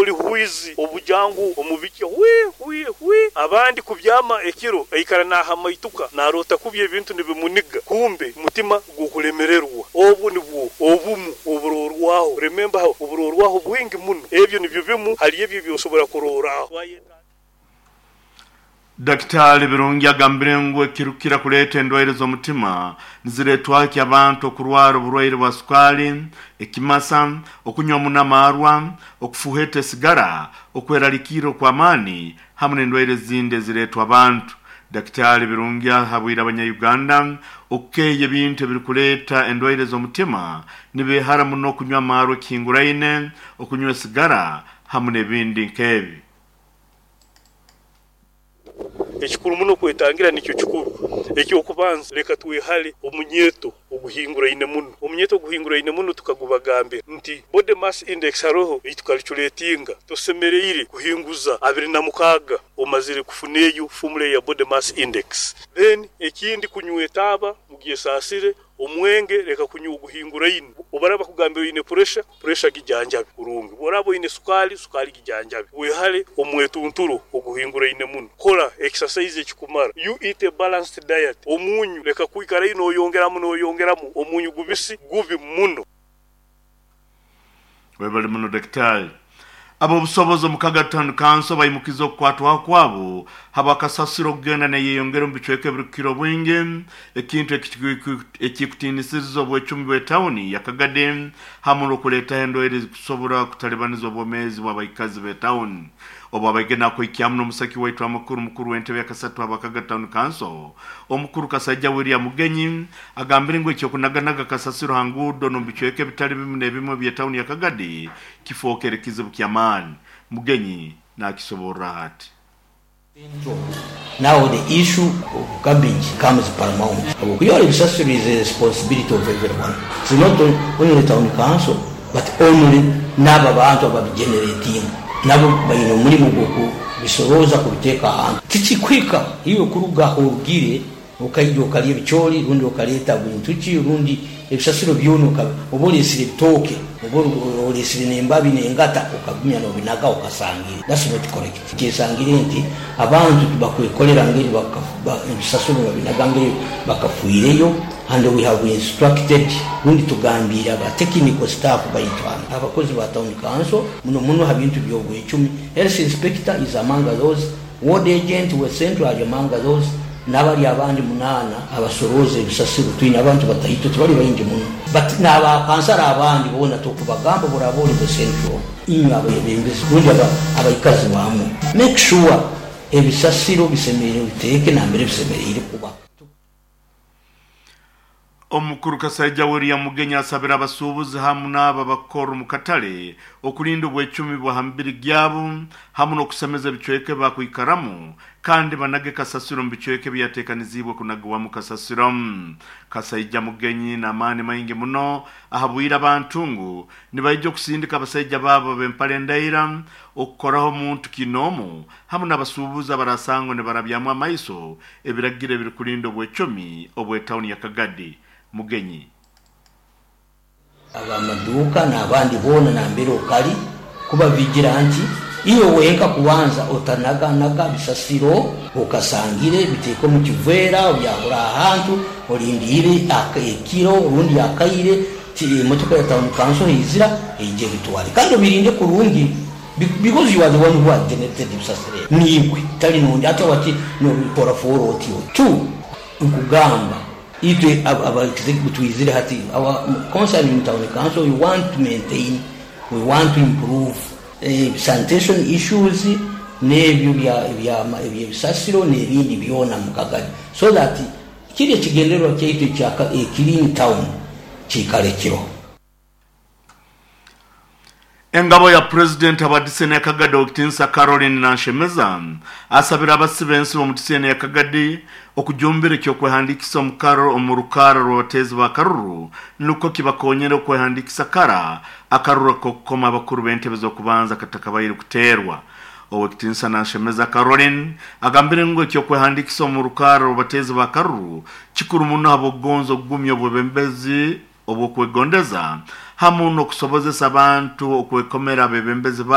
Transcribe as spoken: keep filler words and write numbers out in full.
Oli hwizi obujangu omubiki hwi hwi hwi. Abandi kubyama ekiro aikara nahamaituka narota kubya ebintu nibimuniga, kumbe mutima gukulemererwa. Obwo nibwo obumu oburorwaho. Remember, oburorwaho bwingi muno. Ebyo nibyo bimu hali ebyo byosobora kuroraho. Daktari Birungi agambire ngu ekirukira kuleeta endwaire z'omutima nizireetwaki abantu okurwara oburwaire bwa sukali, ekimasa, okunywa muno amarwa, okufuheta esigara, okweralikirra okw'amaani hamu n'endwaire ezindi ezireetwa abantu. Daktari Birungi ahabwire abanya-Uganda okukeeya ebintu ebirikuleeta endwaire z'omutima nibeehara muno okunywa amarwa ekihinguraine, okunywa esigara hamu n'ebindi nk'ebi. Ekikuru muno kwetangira nikyo kikuru. Ekyokubanza, leka twehale omunyeto oguhinguraine muno. Omunyeto oguhinguraine muno tukagubagambira nti body mass index haroho eitukalculatinga, tosemereire kuhinguza abiri na mukaaga omazire kufuna eyo formula ya body mass index. Then ekindi, kunywa etaaba mugyesasire, omwenge leka kunywa oguhinguraine. Obaraba bakugambira oine pressure, pressure gijanjabe kurungi. Bworaba oine sukali, sukali gijanjabe. Wehale omwetunturo oguhinguraine muno. Kora exercise ekikumara. You eat a balanced diet. Omunyu leka kwikara noyongeramu noyongeramu, omunyu gubisi gubi muno. Webale muno daktari. Ab'obusobozi omu Kagadi Town Council baimukiza okukwatwaho kwabo habwakasasiro okugenda neyeyongera omu bicweka ebirukukira obwingi, ekintu ekikutiinisiriza obwecumi bw'etawuni ya Kagadi hamu n'okuleetaho endwaire ezikusobora kutalibaniza obwomeezi bw'abaikazi b'etawuni. Obu abaigena akwikyamu n'omusaki waitu amakuru, mukuru w'entebe yakasatu aba Kagadi Town Council, omukuru Kasaija William Mugenyi, agambire ngu ekyokunaganaga kasasiro ha nguudo n'omu bicweka ebitali bimu n'ebimu eby'etawuni ya Kagadi kifookere kizibu ky'amaani. Mugenyi nakisoborra ati. Now the issue of garbage comes paramount. Okuyora ebisasiro is a responsibility of everyone. It's not only town council, but only n'abo abantu ababigenerating. Nabo baine omulimu gw'okubisorooza kubiteeka ahantu. Tikikwika iwe kuruga aho orugire okaija okalya ebicoori rundi okaleeta bintu ki rundi ebisasiro byona, oba oleesire ebitooke oba oleesire n'embabi n'engata okagumya n'obinaga okasangire. That's not correct. Kyesangire nti abantu tibakwekolera ngeri ebisasiro babinaga ngeri bakafiireyo, and we have instructed rundi tugambiire aba technical staff baitu hanu, abakozi ba town council, muno muno ha bintu by'obwecumi. Health inspector is among those, ward agent we central ali among those, n'abali abandi munaana abasorooza ebisasiro. Twine abantu bataito, tibali baingi muno, but n'abakansara abandi boona tukubagamba, boraba oli bwe central, inywe abebembezi rundi abaikazi bamwe, make sure ebisasiro bisemereire biteeke nambere bisemereire kuba. Omukuru Kasaija William Mugenyi asabira abasuubuzi hamu n'abo abakora omu katale okulinda obwecumi bwa ha mibiri gyabo hamu n'okusemeza ebicweka ebi bakwikaramu, kandi banage kasasiro omu bicweka ebyateekaniziibwe kunagibwamu kasasiro. Kasaija Mugenyi n'amaani maingi muno ahabwire abantu ngu nibaija okusindika abasaija baabo b'empale endaira okukoraho omuntu kinoomu hamu n'abasuubuzi abarasangwa nibarabyamu amaiso ebiragiro ebirikulinda obwecumi obw'etawuni ya Kagadi. Mugenyi. Abamaduuka n'abandi boona nambere okali kuba vigilant, iwe wenka kubanza otanaganaga bisasiro okasangire, biteeke omu kiveera obyahura ahantu olindiire ekiro rundi akaire, emotoka ya town council eizira eije ebitwale, kandi obirinde kurungi, because you are the one who has generated ebisasiro ebi, niiwe tali nondi. Ate wati nobikora for otyo. Two, nkugamba itwe aba executive twizire hati, our concern in town council, we want to maintain, we want to improve eh, sanitation issues n'ebyo ebyebisasiro n'ebindi byona mu Kagadi, so that kiri ekigendererwa kyaitu ekya clean town kiikale kiro. Engabo ya pulezidenti aba diseni ya Kagadi, Owekitinsa Caroline Nanshemeza, asabira abasi b'ensi b'omu diseni ya Kagadi okujumbira ekyokwehandikisa omu rukara rw'abateezi ba karuru, nukwo kibakonyere okwehandikisa kara akaruru ak'okukoma abakuru b'entebe z'okubanza katakabaire kuteerwa. Owekitinsa Nanshemeza Caroline agambire ngu ekyokwehandikisa omu rukara rw'abateezi ba karuru kikuru muno habw'okugonza okugumya obwebembezi obw'okwegondeza hamu n'okusobozesa abantu okwekomera abebembezi.